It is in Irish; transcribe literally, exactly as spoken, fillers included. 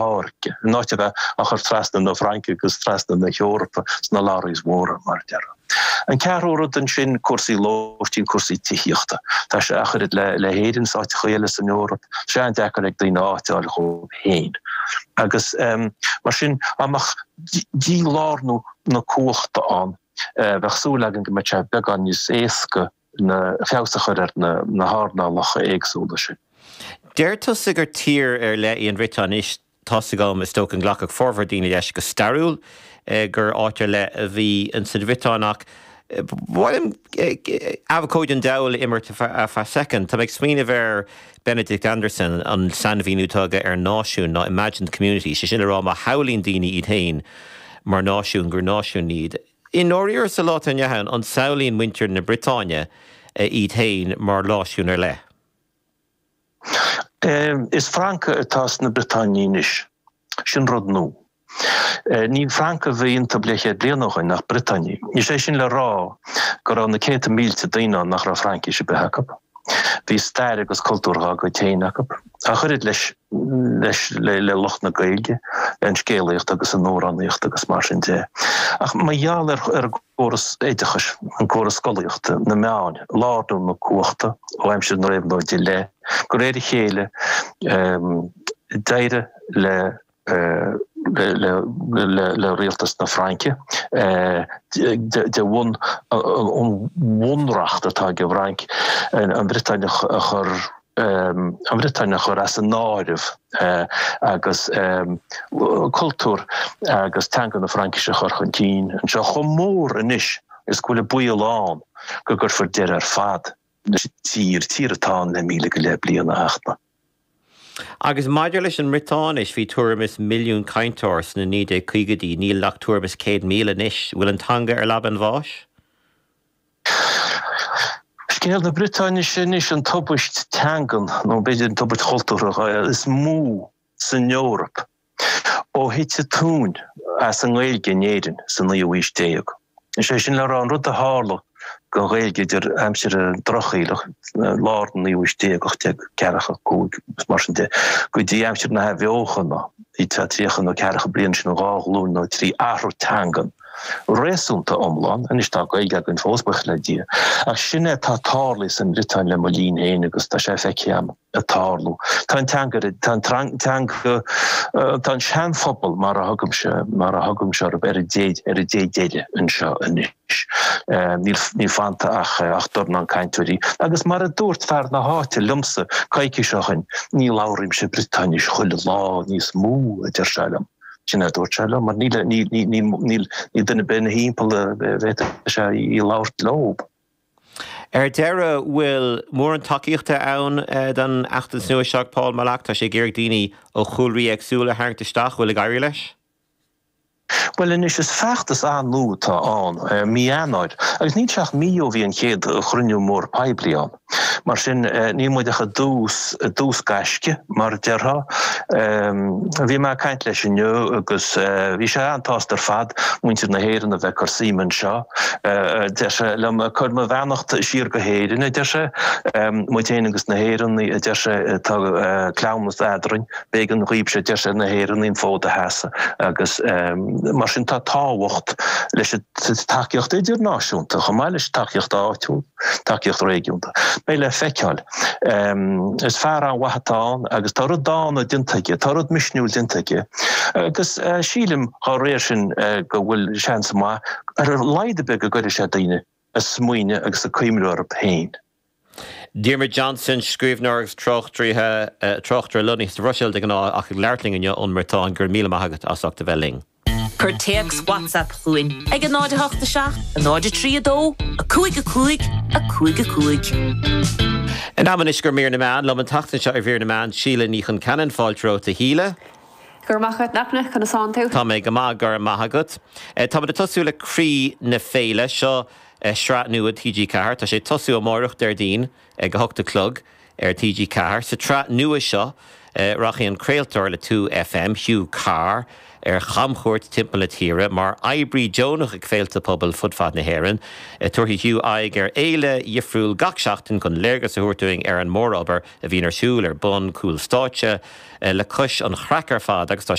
tháirgeadh, in áit a bheith á chur trasna na Fraince agus trasna na hEorpa sna lorries mhóra, mar a déarfá. An ceathrú rud ansin, cúrsaí lóistín, cúrsaí tithíochta. Tá sé ach oiread le le hÉirinn is áiteacha eile san Eoraip, tá sé an-deacair ag daoine áit a fháil dhóibh féin. Agus mar sin, dá mbeadh dílárnú na cumhachta ann, bheadh súil againn go mbeadh sé beagán níos éasca na feabhas a chur ar na hearnálacha éagsúla sin. Deir tusa gur tír ar leith í an Bhriotáin anois. Tá's agam, is dócha, go nglacfadh formhór daoine leis go stairiúil gur áit ar leith a bhí insan Bhriotáin ach ba mhaith liom abhcóide an diabhail a imirt ar feadh soicind. Tá mé ag smaoineamh ar Benedict Anderson, an sainmhíniú atá aige ar náisiún ná imagined community, sé sin le rá má shamhlaíonn daoine iad féin mar náisiún gur náisiún iad. I ndáiríre sa lá atá inniu ann, an samhlaíonn muintir na Briotáine iad féin mar náisiún ar leith? Is Francaigh atá sna Briotáinigh anois. Sin rud nua. Ní Francaigh a bhí iontu leathchéad bliain ó shin ach Briotáinigh. Is é sin le rá go raibh na céadta mílte daoine ann nach raibh Fraincis ar bith acu. Bhí stair agus cultúr dhá gcuid féin acu. Ach oiread leis leis le lucht na Gaeilge, an scéalaíocht agus an amhránaíocht agus mar sin de. Ach mar gheall ar ar an gcóras oideachais, an córas scolaíochta, na meáin, lárnú na cumhachta ó aimsir na réabhlóide i leith, de réir a chéile d'éirigh le le rialtas na Fraince de bhun an bhunreacht atá ag an bhFrainc an Bhriotáin a chur an Bhriotáin a chur as an áireamh agus cultúr agus teanga na Fraincise a chur chun cinn anseo chomh mór anois is go bhfuil an baol ann go gcuirfear deireadh ar fad leis an tír, tír atá ann le míle go leith bliain a Fhachtna. Agus maidir leis an mBriotáinis, bhí tuairim is milliún cainteoir sna naoi déag caogaidí, níl ach tuairim is céad míle anois. Bhfuil an teanga ar leaba an bháis? Scéal na Briotáinise anois an tubaist teangan, nó b'fhéidir an tubaist chultúrtha, is mó san Eoraip ó thit an tóin as an nGaeilge in Éirinn sa naoú haois déag. Is é sin le rá, an rud a tharla don Ghaeilge idir aimsir an Drochshaoil, lár an naoú haois déag, ocht déag ceathracha cúig agus mar sin de, go dtí aimsir na hAthbheochana, bhí tríocha nó ceathracha bliain, sin dhá ghlúin nó trí, athrú teangan réasúnta iomlán. Anois tá Gaeilge againn fós, buíochas le Dia, ach sin é atá tarlaithe sa mBriotáin le mo linn féin agus tá sé feicthe agam ag tarlú. Tá an teanga, tá an teanga, tá an seanphobal mar a thugaimse, mar a thugaimse orthu, ar an dé, ar an dé deiridh anseo anois. Níl, níl fanta ach, ach dornán cainteoirí. Agus mar a dúirt fear na háite liomsa coicís ó shin, ní labhraímse Briotáinis chuile lá níos mó, a deir sé liom. Sin é a dúirt sé liom, mar níl, níl, níl, níl, níl duine ar bith ina thimpeall a bhféadfadh sé í a labhairt leo. Ar deireadh, bhfuil mórán tacaíochta ann don fheachtas nua seo ag Paul Molac? Tá sé ag iarraidh daoine ó chúlraí éagsúla a tharraingt isteach. Bhfuil ag éirí leis? Bhuel anois, is feachtas an-nua atá ann, mí Eanáir, agus níl sé ach mí ó bhí an chéad chruinniú mór poiblí ann. Mar sin, níl muid ach i dtús, i dtús gaisce, mar a déarfá. Bhí mé ag caint leis inniu agus bhí sé an-tsásta ar fad muintir na hÉireann a bheith ag cur suime anseo. Deir sé liom, cuir mo bheannacht siar go hÉirinn, a deir sé. Muid féin agus na hÉireannaigh, a deir sé, tá cleamhnas eadrainn. B'éigean dhaoibhse, a deir sé, na hÉireannaigh an fód a sheasamh agus mar sin tá tábhacht leis an tacaíocht idirnáisiúnta chomh maith leis an tacaíocht áitiúil, tacaíocht réigiúnda. Beidh le feiceáil. Is fear an-mhaith atá ann agus tá rud dána déanta aige, tá rud misniúil déanta aige agus sílim dá réir sin go bhfuil seans maith ar a laghad ar bith go gcuirfidh sé daoine ag smaoineamh agus ag cuimhneamh orthu féin. Diarmuid Johnson, scríbhneoir agus tráchtaire lonnaithe sa Bhruiséil de ghnáth ach ag labhairt linn inniu ón mBriotáin, go raibh míle maith agat as ucht a bheith linn. Cuir téacs WhatsApp chugainn ag a náid a hocht a seacht, a náid a trí a dó, a cúig a cúig, a cúig a cúig. In am anois do mhír na meán, liom an tseachtain seo ar mhír na meán, Síle Ní Chonceanainn, fáilte romhat a Shíle. Go raibh maith agat, a Fhachtna, conas tánn tú? Tá mé go maith, go raibh maith agat. Táimid ag tosú le Croí na Féile, seo sraith nua T G ceathair. Tá sé ag tosú amáireach, Déardaoin, ag a hocht a chlog ar T G ceathair. Sa tsraith nua seo, Rachaidh an craoltóir le Two FM Hugh Carr ar chamchuairt timpeall na tíre mar oibrí deonach ag féilte pobail fud fad na hÉireann. Tabharfaidh Hugh aghaidh ar fhéile dhifriúil gach seachtain chun léargas a thabhairt dúinn ar an mórobair a bhíonn ar siúl ar bun cúl stáitse le cois an chraic ar fad agus tá